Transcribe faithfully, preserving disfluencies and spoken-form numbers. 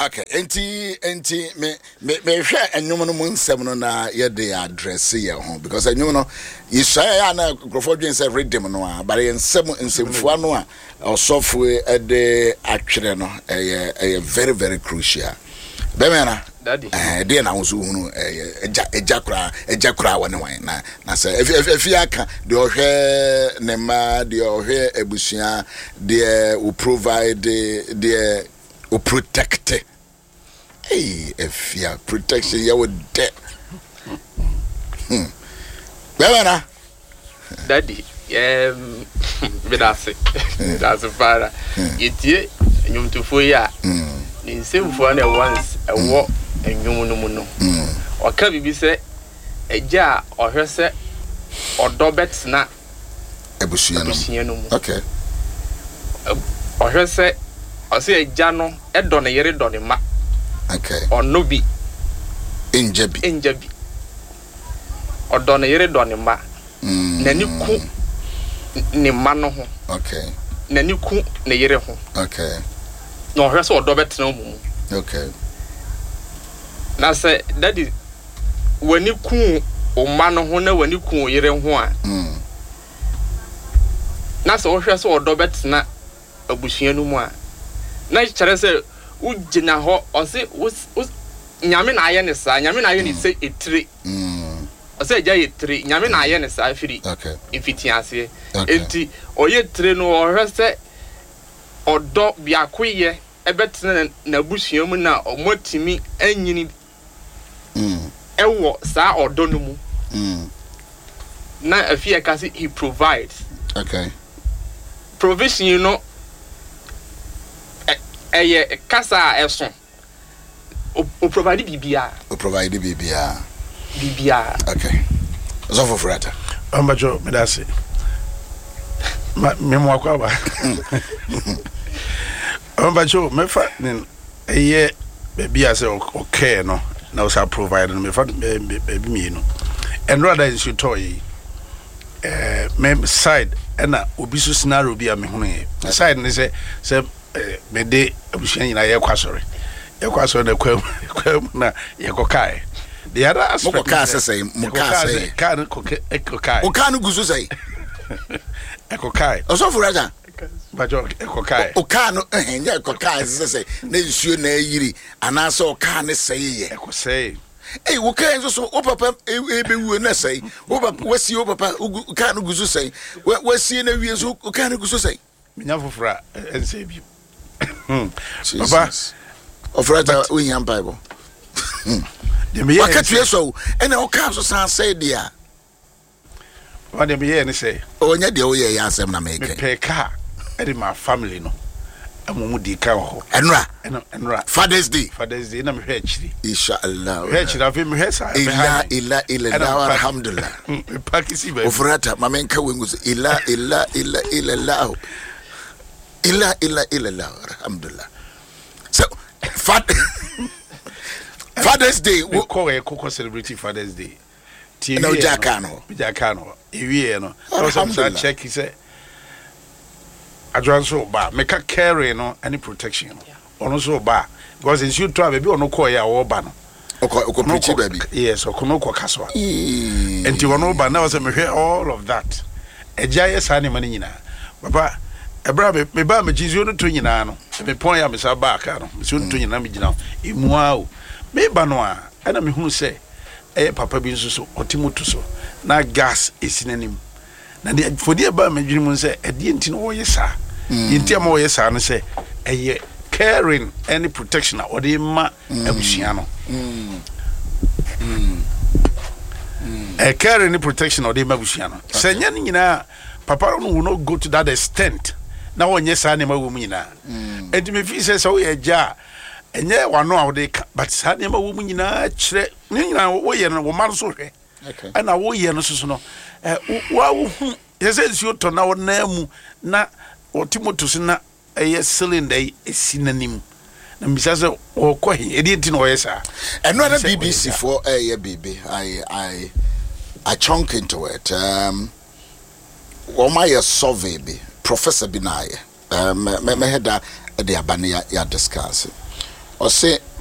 Okay, enti enti me me mehwɛ ɛnwom no mu nsɛm no na yɛde address yɛn ho, because ɛnwom no yɛsua yɛ a, na nkurɔfoɔ dwen sɛ rhythm no a, but yɛn nsɛm, nsɛmfua no a ɔsɔfo ɛde atwerɛ no, ɛyɛ ɛyɛ very very crucial. Bɛmɛ na Daddy. Ɛɛ, deɛ na ahosuo hunu ɛyɛ ɛgya ɛgya koraa, ɛgya koraa wɔ ne wan na na sɛ efi efi efi aka deɛ ɔhwɛ ne mma, deɛ ɔhwɛ abusua, deɛ o provide, deɛ o protect. Ee, efia protection yɛ wo dɛ hmm bɛmɛ na. Daddy, um, medase medase paara. Yɛtie nnwomtofoɔ yi a, ne nsɛmfua no ɛwɔ ns ɛwɔ nnwom no mu no, ɔka biribi sɛ agya a ɔhwɛ sɛ ɔdɔ bɛtena abusua no mu. Abusua no mu. Okay ɔhwɛ sɛ ɔsɛ agya no ɛdɔ ne yere, dɔ ne mma. Okay ɔno bi ngya bi. Ngya bi. Ɔdɔ ne yere, dɔ ne mma. N'ani ku ne mma no ho. Okay n'ani ku ne yere ho. Okay na ɔhwɛ sɛ ɔdɔ bɛtena wɔn mu. Okay na sɛ, Daddy, w'ani ku wo mma no ho na w'ani ku wo yere ho a, mm. na sɛ wohwɛ sɛ ɔdɔ bɛtena abusua no mu a, na kyerɛ sɛ wogyina hɔ. Ɔse wo wo Nyame na ayɛ ne saa. Nyame na ayɛ ne sɛ etire. Mm. Ɔsɛ agya yɛ tire. Nyame na ayɛ ne saa firi okay mfitiaseɛ. Okay. Enti ɔyɛ tire no, ɔhwɛ sɛ ɔdɔ biakoyɛ ɛbɛtena n'abusua mu na ɔmo atumi anyini mm. ɛwɔ saa ɔdɔ no mu. Mm. Na afi ɛka sɛ he provides. Okay provision no ɛ- ɛyɛ kasa a ɛso. o o provide biribiara. O provide biribiara. Biribiara. Okay, ɔsɔfo Furata. Ɔmbɛtwɛ, meda ase. Ma memo akɔ aba. Ɔmbɛtwɛ, mɛfa ne ɛyɛ baabi a sɛ ɔkɛɛ no na ɔsa provide no. Mefa baabi mmienu. Ɛnora da nsuo tɔɔ yi, ɛɛ me side ɛna obi so scenario bi a mehunu yɛ side ne sɛ sɛ ɛɛ mede abusua nyinaa yɛkɔ asɔre yɛkɔ asɔre na kwan kwan mu na yɛkɔ kae. The other aspect Mokɔ kaa sɛ sɛn? Mo kaa sɛ? Kaa no kɔ ɛkɔ kae. O kaa no gu so sɛn? Ɛkɔ kae. Ɔsɔfo Furata. Bàtɛ, ɛkɔ kae. O kaa no ɛhɛn nyɛ ɛkɔ kaa sɛ sɛ na nsuo na ayiri anaasɛ ɔkaa ne sɛe yɛ? Ɛkɔ sɛe. Ei, wo kaa nso so, wo papa ebewuo na sɛe wo papa, wasie wo papa, wo kaa no gu so sɛe, wasie na wie nso, wo kaa no gu so sɛe. Menya foforɔ a ɛnsɛ bi, papa. Ɔfrata, wohia mpaebɔ. Waka tue sɔ o, ɛna wo kaa so san sɛe deɛ a. Papa, deɛ meyɛɛ ne sɛ ɔnyɛ deɛ woyɛ yɛ asɛm na mekɛ. Mepɛ kaa ɛde ma family no ɛma mu di ka wɔ hɔ. Ɛnora? Ɛna ɛnora. Father's Day. Father's Day na mehwɛ akyiri. Inshallah. Mehwɛ akyiri, afei mehwɛ saa. Ila ila ila ila, alhamdulillah. Mepark si baabi. Ofurata, ma menka wengu so ila ila ila ila ila ila ila ila ila, alhamdulillah. So Father's Day. Mekɔ ɛkɔkɔ celebrate Father's Day. Tie. Ɛna wogyaa kaa no hɔ? Megyaa kaa no hɔ. Ewieɛ no, ɛwɔ sɛ mesa check sɛ adwoa nso ba. Meka caring no ne protection no, ɔno nso ba, because nsuo tɔ a, baabi a ɔno kɔɔyɛ a ɔreba no, ɔkɔ ɔkɔ preach baabi. Yes, ɔkɔ no kɔ kasoa, nti ɔno ba na ɔsɛ mehwɛ all of that. Agya yɛ saa nneɛma no nyinaa, papa. Ɛberɛ a me mebaa mekyi, nsuo no tɔ nyinaa no, mepɔn yɛ a mesa baa kaa no, nsuo no tɔ nyinaa, megyina emu a o meba no a, ɛna mehunu sɛ ɛyɛ papa bi nso so ɔte moto so na gas esi n'anim. Na deɛ fodi ɛbaa m'adwene mu sɛ ɛdeɛ nti na wɔyɛ saa, deɛ nti ama wɔyɛ saa no sɛ ɛyɛ caring ɛne protection a ɔde ma abusua no. Ɛ caring ne protection a ɔde ma abusua no, sɛ nyɛ no nyinaa, papa no will not go to that extent na wɔnyɛ saa nneɛma wɔ mu nyinaa. Nti mefi sɛ sɛ woyɛ agya a, ɛnyɛ wano a wode ka, but saa nneɛma wɔ mu nyinaa kyerɛ ne nyinaa woyɛ no, wo ma no so hwɛ. Ɛna woyɛ no soso no, wa wohu yɛ sɛ nsuo tɔ na wɔnan mu na wɔte moto so na ɛyɛ cylinder yi esi n'anim, na mbisa sɛ ɔkɔ he, ɛdeɛ nti na ɔyɛ saa? Ɛno na B B C foɔ ɛyɛ biribi. I I I chunk into it. um, wɔn ayɛ survey bi, professor bi na ayɛ. um, mɛhɛ da de aba ne yɛ discuss. Ɔse